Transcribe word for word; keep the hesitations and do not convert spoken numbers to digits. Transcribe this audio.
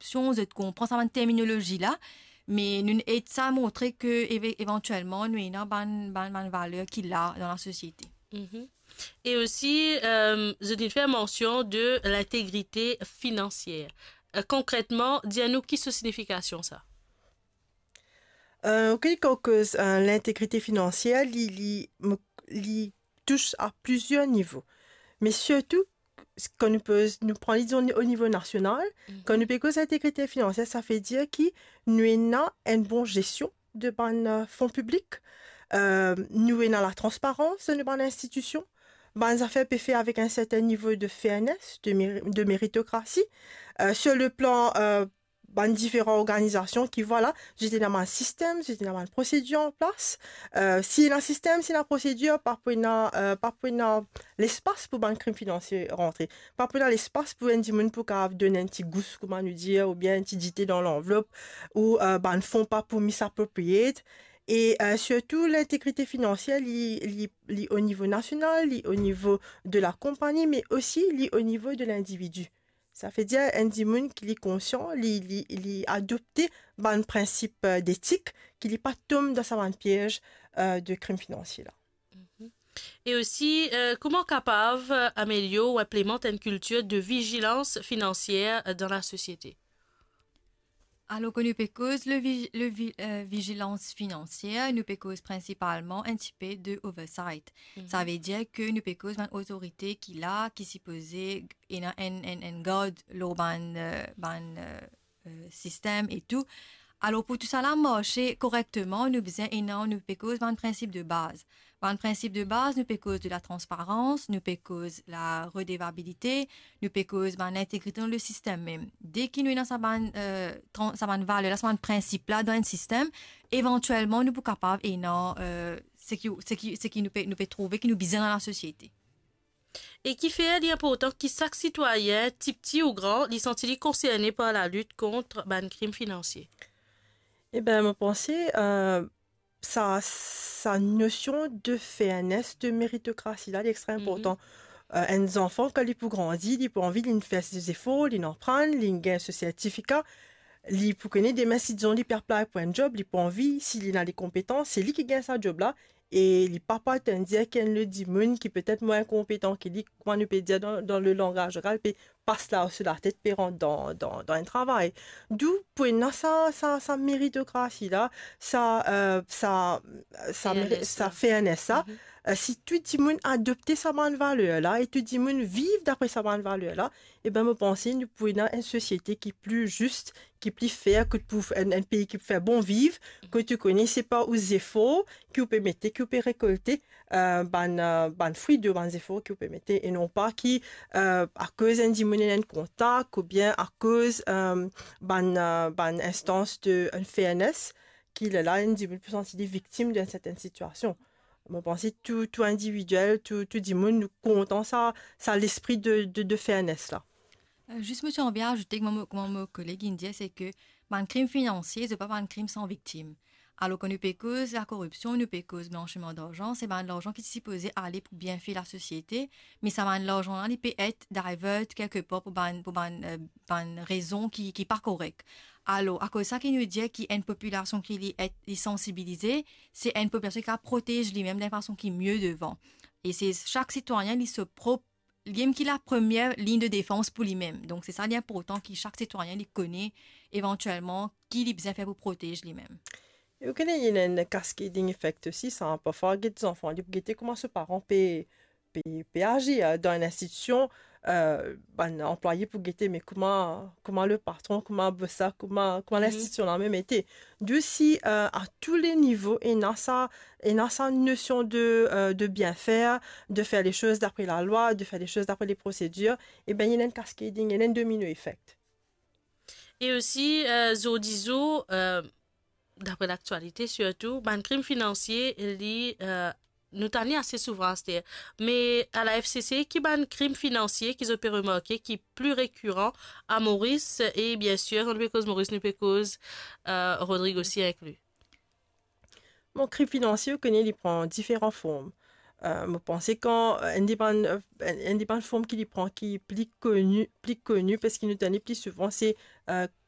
koripsion, zot konpran sa bann terminolozi la, me nou ed sa montre ke eve-, evantielman nou ena bann, bann, bann valer ki la dan lasosiete. Mhm. E osi, euh, zot inn fer mansion de lintegrite finansier. Euh, konkretman, dir nou ki so signifikasion sa? Euh, ok, kan koz, euh, lintegrite finansier, li, li, mo-, li tous a plizier nivo. Me sirtou, kan nou poz, nou pran li, dizon, o nivo nasional, mhm, kan nou pe koz lintegrite finansier, sa ve dir ki nou ena enn bon gestion de bann, euh, fon piblik, euh, nou ena latransparans dan nou bann institision, bann zafer pe fer avek enn sertin nivo de fairness, de meri-, de meritokrasi, euh, sur le plan, euh, bann diferan organizasion ki, vwala, zot ena bann sistem, zot ena bann prosedir an plas. Euh, si ena sistem, si ena prosedir, pa pou ena, euh, pa pou ena lespas pou bann krim finansie rantre. Pa pou ena lespas pou enn dimoun pou kapav donn enn ti gous, kouma nou dir, oubien enn ti dite dan lanvlop, ou, euh, bann fon pa pou misappropriate. E, euh, sirtou, lintegrite finansier, li, li, li o nivo nasional, li o nivo de lakonpagni, me osi li o nivo de lindividi. Sa ve dir enn dimoun ki li konsian, li, li, li adopte bann prinsip, euh, detik, ki li pa tom dan sa bann piez, euh, de krim finansie la. Mhm. E osi, euh, kouma kapav, euh, amelior ou inplimant enn kiltir de vizilans finansier, euh, dan lasosiete? Alor, kan nou pe koz le vi-, le vi-, euh, vizilans finansier, nou pe koz prinsipalman enn tipe de oversight. Mhm. Sa ve dir ke nou pe koz bann otorite ki la, ki sipoze ena enn, enn, enn gard lor bann, euh, bann, euh, euh, sistem e tou. Alor, pou tousala marse korekteman, nou bizin ena, nou pe koz bann prinsip de baz. Bann prinsip de baz, nou pe koz de latransparans, nou pe koz laredevabilite, nou pe koz bann lintegrite dan le sistem mem. Deki nou ena sa bann, euh, tran-, sa bann valer la, sa bann prinsip la dan enn sistem, evantielman nou pou kapav ena, euh, seki, seki, seki nou pe, nou pe trouve ki nou bizin dan lasosiete. E kifer li inportan ki sak sitwayin, tipti ou gran, li santi li konserne par lalit kont bann krim finansie? Eben, mo panse, euh, sa, sa nosion de fairness, de meritokrasi la, li extre inportan. Mhm. Euh, enn zanfan, kan li pou grandi, li pou anvi, li fer se zefor, li aprann, li gagn so sertifika, li pou kone demin si, dizon, li pe apply pou enn job, li pou anvi, si li ena lekonpetans, se li ki gagn sa job la, e li pa pou atann dir ki enn lot dimoun ki petet mwin konpetan ki li, kouma nou pe dir dan, dan le langaz loral, pe pas la sou latet, pe rant dan, dan, dan enn travay. Dou pou ena sa, sa, sa meritokrasi la, sa, euh, sa, sa meri-, fairness sa la. Fairness la, mhm, euh, si tou dimoun adopte sa bann valer la e tou dimoun viv dapre sa bann valer la, eben, mo panse nou pou ena enn sosiete ki pli zis, ki pli fer, kot pou enn, enn pei ki pou fer bon viv, kot ou kone se par ou zefor ki ou pe mete, ki ou pe rekolte, euh, bann, euh, bann fri de bann zefor ki ou pe mete, e non pa ki, euh, akoz enn dimoun ena enn kontak, oubien akoz, euh, bann, euh, bann instans de, euh, fairness, ki lerla enn dimoun pou santi li viktim dan enn sertin sitiasion. Mo panse tou, tou individiel, tou, tou dimoun, nou kontan sa, sa lespri de, de, de fairness la. Euh, zis mo ti anvi azoute, kouma mo, kouma mo koleg inn dir, se ke bann krim finansie, se pa bann krim san viktim. Alor, kan nou pe koz lakoripsion, nou pe koz blansiman darzan, se bann larzan ki ti sipoze ale pou bienfe lasosiete, me sa bann larzan la, li pe et divert kelkepar pou bann, pou bann, euh, bann rezon ki, ki pa korek. Alor, akoz sa ki nou dir ki enn popilasion ki li et, li sansibilize, se enn popilasion ki kapav protez limem dan enn fason ki mie devan. E se sak sitwayin, li so prop, limem ki lapremier lign de defans pou limem. Donk, se sa, li inportan ki sak sitwayin, li kone evantielman ki li bizin fer pou protez limem. E ou kone, ena enn cascading effect osi, sa, parfwa, get zanfan, li pou gete kouma so paran pe, pe, pe azir, euh, dan enn institision, euh, bann anplwaye pou gete, me kouma, kouma le patron, kouma bos la, kouma, kouma, mhm, linstitision la mem ete. Dou si, euh, a tou le nivo, ena sa, ena sa nosion de, euh, de bien fer, de fer le soz dapre lalwa, de fer le soz dapre le prosedir, eben, ena enn cascading, ena enn domino effect. E osi, euh, zordi zour, euh, dapre laktialite sirtou, bann krim finansie, li, euh, nou tann li ase souvan aster. Me a la F C C, ki bann krim finansie ki zot pe remarke ki pli rekiran a Moris, e biensir, kan nou pe koz Moris, nou pe koz, euh, Rodrig osi inkli? Bon, krim finansie, ou kone, li pran diferan form. Euh, mo panse kan, euh, enn de bann, euh, enn, enn de bann form ki li pran ki pli koni, pli koni, parski nou tann li pli souvan, se, euh,